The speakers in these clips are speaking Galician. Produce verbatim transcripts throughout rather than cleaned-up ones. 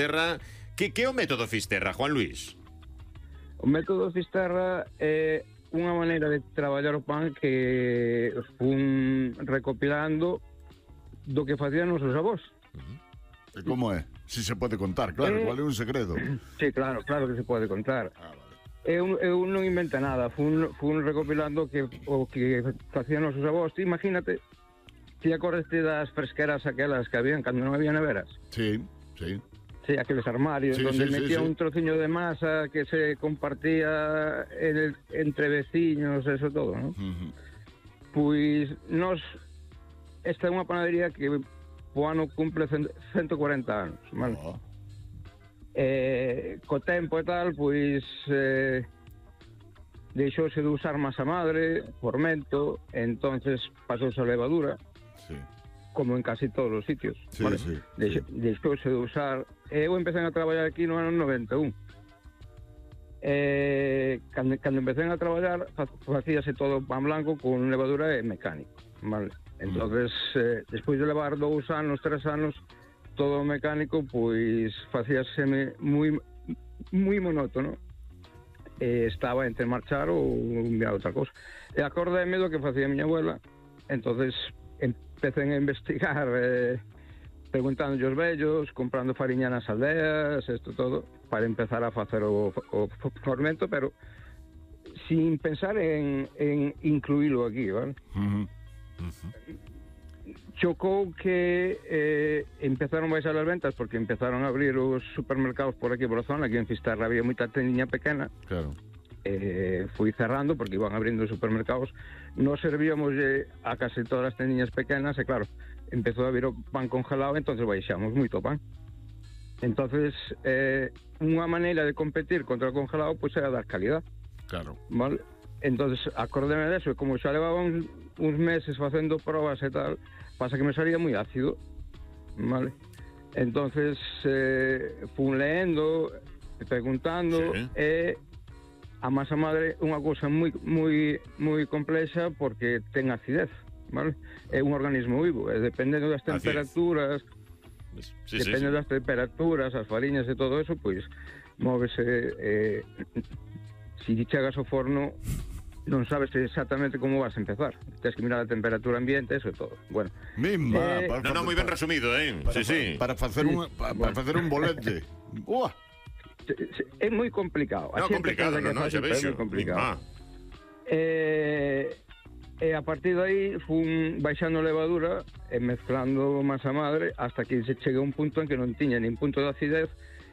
Fisterra. Que, que é o método Fisterra, Juan Luis? O método Fisterra é unha maneira de traballar o pan que fun recopilando do que facían os seus avós. E como é? Si se pode contar, claro, eh, igual é un segredo. Sí, claro, claro que se pode contar. Ah, vale. Eu, eu non invento nada, fun, fun recopilando que, o que facían os seus avós. Ti imagínate, ti acordeste das fresqueras aquelas que habían cando non había neveras? Sí, sí. Sí, aqueles armarios Sí, donde sí, sí, metía sí. un trociño de masa que se compartía en el, entre veciños, eso todo, ¿no? Uh-huh. Pois nos esta é unha panadería que o ano cumple ciento cuarenta anos, vale? Oh. Eh, co tempo e tal, pois eh, deixouse de usar masa madre, fermento, entonces pasouse a levadura, Sí. como en casi todos os sitios. Sí, vale? sí, Deixo, sí. deixouse de usar. Eu empecé a traballar aquí no ano noventa e un. Eh, cando, cando empecé a traballar, fa- facíase todo pan blanco con levadura e mecánico, vale? Entonces, eh, despois de levar dous anos, tres anos, todo mecánico, pois facíase moi moi monótono. E estaba entre marchar ou enviar outra cousa. E acordéme do que facía a miña abuela, entonces empecé a investigar, eh, preguntando aos vellos, comprando fariña nas aldeas, isto todo, para empezar a facer o, o fermento, pero sin pensar en, en incluílo aquí, ¿vale? Uh-huh. Chocou que eh, empezaron a baixar as ventas porque empezaron a abrir os supermercados por aquí por a zona. Aquí en Fisterra había moita tendiña pequena. Claro. Eh, fui cerrando porque iban abrindo os supermercados. Nos servíamos eh, a casi todas as tendiñas pequenas e claro, empezou a vir o pan congelado, entonces baixamos moito pan. Entonces eh, unha maneira de competir contra o congelado pois era dar calidad, Claro. vale? Entonces acordeme deso, e como xa levaba uns, uns meses facendo probas e tal, pasa que me salía moi ácido, vale? Entonces eh, fun leendo, preguntando, Sí. e a masa madre é unha cousa moi moi moi complexa porque ten acidez, vale? É un organismo vivo, e dependendo das Acidez. temperaturas, Sí, sí, depende sí. das temperaturas, as fariñas e todo eso, pois móvese, eh, si chegas ao forno non sabes exactamente como vas a empezar. Tens que mirar a temperatura ambiente, eso e todo. Bueno, Mimba. Eh, para No, no, facer- moi ben resumido, eh? Para, Sí, sí. Para facer un, para, para facer un bolete. Ua. se- se- é moi complicado. No, A xente complicado, pensa que no, é no, fácil, xa pero é vexo. moi complicado. Ah, Eh, e a partir de aí fun baixando levadura e mezclando masa madre hasta que se chegue a un punto en que non tiña nin punto de acidez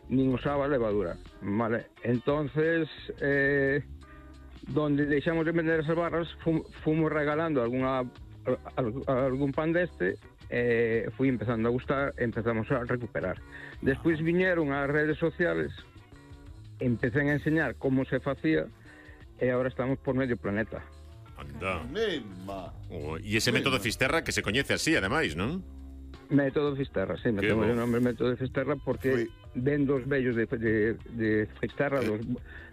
nin usaba levadura, vale? Entonces eh, donde deixamos de vender esas barras fum, fomos regalando alguna, al, algún pan deste e fui empezando a gustar e empezamos a recuperar. Despois viñeron as redes sociales, empecé a enseñar como se facía e agora estamos por medio planeta. anda. Mimba. Oh, e ese método Fisterra que se coñece así, ademais, non? Método Fisterra, sí, Que metemos bo. o nome Método Fisterra porque Fui. ven dos vellos de, de, de Fisterra, dos,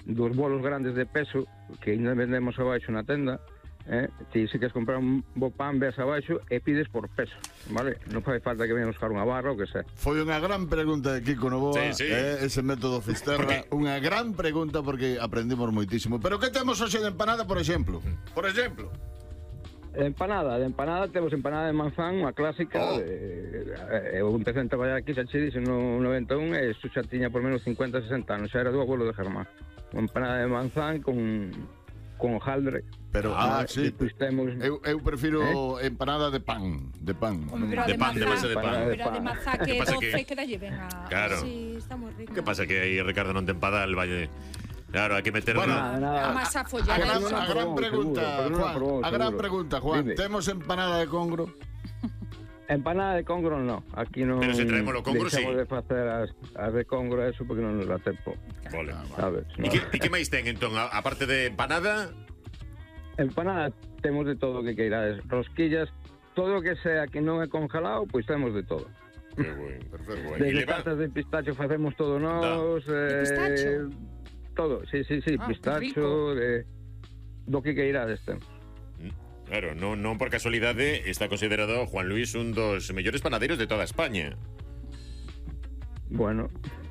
dos bolos grandes de peso que ainda vendemos abaixo na tenda, eh? Ti se queres comprar un bo pan, ves abaixo e pides por peso, vale? Non fai falta que vengan buscar unha barra ou que sea. Foi unha gran pregunta de Kiko Novoa, Sí, sí. eh, ese método Fisterra, unha gran pregunta porque aprendimos moitísimo. Pero que temos hoxe de empanada, por exemplo? Por exemplo. Empanada, de empanada temos empanada de manzán, unha clásica. Oh. De, eh, eu empecé a traballar aquí, xa che dixen, no noventa e un, e isto xa tiña por menos cincuenta, sesenta anos, xa era do abuelo de Germán. Unha empanada de manzán con, con hojaldre. Pero, Ah, ah, sí. despois temos... Eu, eu prefiro empanada de pan, de pan. Home, pero a De de pan, de base mazá, de pan. pero a de mazá que Que pasa doce que- que dalle ben a... Claro. Sí, está moi rico. Que pasa que aí Ricardo non ten padal, valle. Claro, hai que meter Bueno, Nada, nada. A masa A follada. gran, no, no, a gran seguro, pregunta, seguro, pero non Juan. aprobou, A gran seguro. pregunta, Juan. Dime. Temos empanada de congro? Empanada de congro no, aquí non... Pero se traemos o congro, deixamos sí. de facer as, as de congro eso porque non nos dá tempo, Vale. sabes? E No. que, e que máis ten, entón? A, a parte de empanada, Empanada temos de todo o que queirades, rosquillas, todo o que sea que non é congelado, pois temos de todo. que bueno, perfecto. E Desde leva, tartas de pistacho facemos todo nós, De pistacho? todo, sí, sí, sí, Ah, que pistacho, de, do que queirades temos. claro, non, non por casualidade está considerado Juan Luis un dos mellores panaderos de toda España. Bueno,